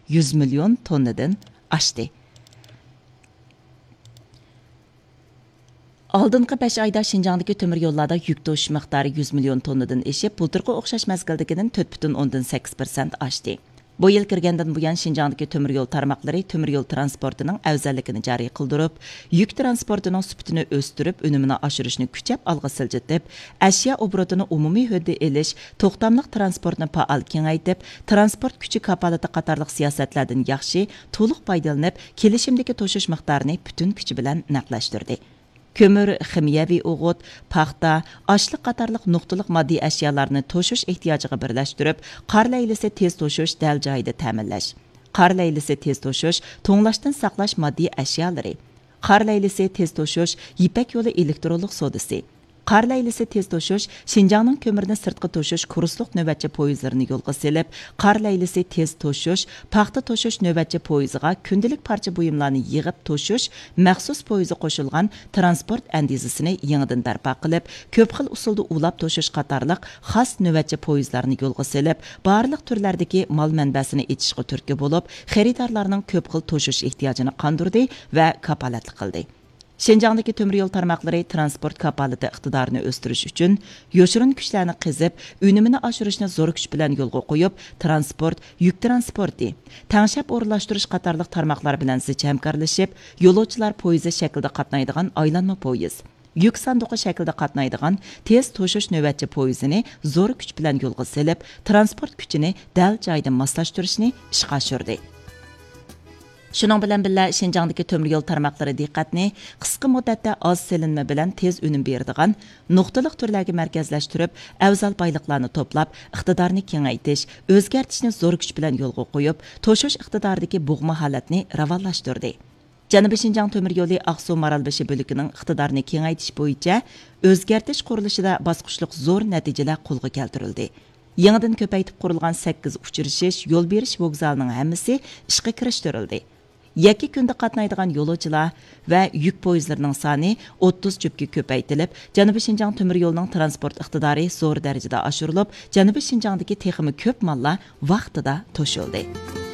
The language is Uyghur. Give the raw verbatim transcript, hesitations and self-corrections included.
يۈز مىليون توننىدىن ئاشتى. ئالدىنقى بەش ئايدا شىنجاڭدىكى تۆمۈر يوللاردا يۈك توشۇش مىقدارى يۈز مىليون توننىدىن ئېشىپ، بۇلتۇرقى ئوخشاش مەزگىلدىكىدىن تۆت پۈتۈن ئوندىن سەككىز پىرسەنت ئاشتى. بۇ يىل كىرگەندىن بۇيان، شىنجاڭدىكى تۆمۈر يول تارماقلىرى تۆمۈر يول ترانسپورتىنىڭ ئەۋزەللىكىنى جارى قىلدۇرۇپ، يۈك ترانسپورتىنىڭ سۈپىتىنى ئۆستۈرۈپ، ئۈنۈمىنى ئاشۇرۇشنى كۈچەپ ئالغا سىلجىتىپ، ئەشيا ئوبوروتىنى ئومۇمىي ھۆددە ئېلىش، توختاملىق ترانسپورتنى پائال كېڭەيتىپ، ترانسپورت كۈچى كاپالىتى قاتارلىق سىياسەتلەردىن ياخشى، تولۇق پايدىلىنىپ، كېلىشىمدىكى توشۇش مىقدارىنى پۈتۈن كۈچى بىلەن نەقلەشتۈردى. كۆمۈر، خىمىيەۋى ئوغۇت، پاختا، ئاشلىق قاتارلىق نۇقتىلىق ماددىي ئەشيالارنى توشۇش ئېھتىياجىغا بىرلەشتۈرۈپ، قار لەيلىسى تېز توشۇش دەل جايىدا تەمىنلەش. قار لەيلىسى تېز توشۇش، توڭلاشتىن ساقلاش ماددىي ئەشيالىرى. قار لەيلىسى تېز توشۇش، يىپەك يولى ئېلېكترونلۇق سودىسى. قار لەيلىسى تېز توشۇش، شىنجاڭنىڭ كۆمۈرىنى سىرتقا توشۇش كۇرسلۇق نۆۋەتچى پويىزلىرىنى يولغا سېلىپ، قار لەيلىسى تېز توشۇش، پاختا توشۇش نۆۋەتچى پويىزىغا كۈندىلىك پارچە بۇيۇملارنى يىغىپ توشۇش مەخسۇس پويىزى قوشۇلغان ترانسپورت ئەندىزىسىنى يېڭىدىن بەرپا قىلىپ، كۆپ خىل ئۇسۇلدا ئۇلاپ توشۇش قاتارلىق خاس نۆۋەتچى پويىزلارنى يولغا سېلىپ، بارلىق تۈرلەردىكى مال مەنبەسىنى ئېچىشقا تۈرتكە بولۇپ، خېرىدارلارنىڭ كۆپ خىل توشۇش ئېھتىياجىنى قاندۇردى ۋە كاپالەتلىك قىلدى. شىنجاڭدىكى تۆمۈر يول تارماقلىرى ترانسپورت كاپالىتى ئىقتىدارىنى ئۆستۈرۈش ئۈچۈن يوشۇرۇن كۈچلەرنى قېزىپ، ئۈنۈمىنى ئاشۇرۇشنى زور كۈچ بىلەن يولغا قويۇپ، ترانسپورت، يۈك ترانسپورتى، تەڭشەپ ئورۇنلاشتۇرۇش قاتارلىق تارماقلار بىلەن زىچ ھەمكارلىشىپ، يولۇچىلار پويىزى شەكلىدە قاتنايدىغان ئايلانما پويىز، يۈك ساندۇقى شەكلىدە قاتنايدىغان تېز توشۇش نۆۋەتچى پويىزىنى زور كۈچ بىلەن يولغا سېلىپ، ترانسپورت كۈچىنى دەل جايىدا ماسلاشتۇرۇشنى ئىشقا ئاشۇردى. شۇنىڭ بىلەن بىللە، شىنجاڭدىكى تۆمۈر يول تارماقلىرى دىققەتنى قىسقا مۇددەتتە ئاز سېلىنما بىلەن تېز ئۈنۈم بېرىدىغان نۇقتىلىق تۈرلەرگە مەركەزلەشتۈرۈپ، ئەۋزەل بايلىقلارنى توپلاپ، ئىقتىدارنى كېڭەيتىش، ئۆزگەرتىشنى زور كۈچ بىلەن يولغا قويۇپ، توشۇش ئىقتىدارىدىكى بوغما ھالەتنى راۋانلاشتۇردى. جەنۇبىي شىنجاڭ تۆمۈر يولى ئاقسۇ مارالبېشى بۆلىكىنىڭ ئىقتىدارىنى كېڭەيتىش بويىچە ئۆزگەرتىش قۇرۇلۇشىدا باسقۇچلۇق زور نەتىجىلەر قولغا كەلتۈرۈلدى. يېڭىدىن كۆپەيتىپ قۇرۇلغان سەككىز ئۇچرىشىش، يول بېرىش ۋوگزالىنىڭ ھەممىسى ئىشقا كىرىشتۈرۈلدى. يەككە كۈندە قاتنايدىغان يولۇچىلار ۋە يۈك پويىزلىرىنىڭ سانى ئوتتۇز جۈپكە كۆپەيتىلىپ، جەنۇبىي شىنجاڭ تۆمۈر يولىنىڭ ترانسپورت ئىقتىدارى زور دەرىجىدە ئاشۇرۇلۇپ، جەنۇبىي شىنجاڭدىكى تېخىمۇ كۆپ ماللار ۋاقتىدا توشۇلدى.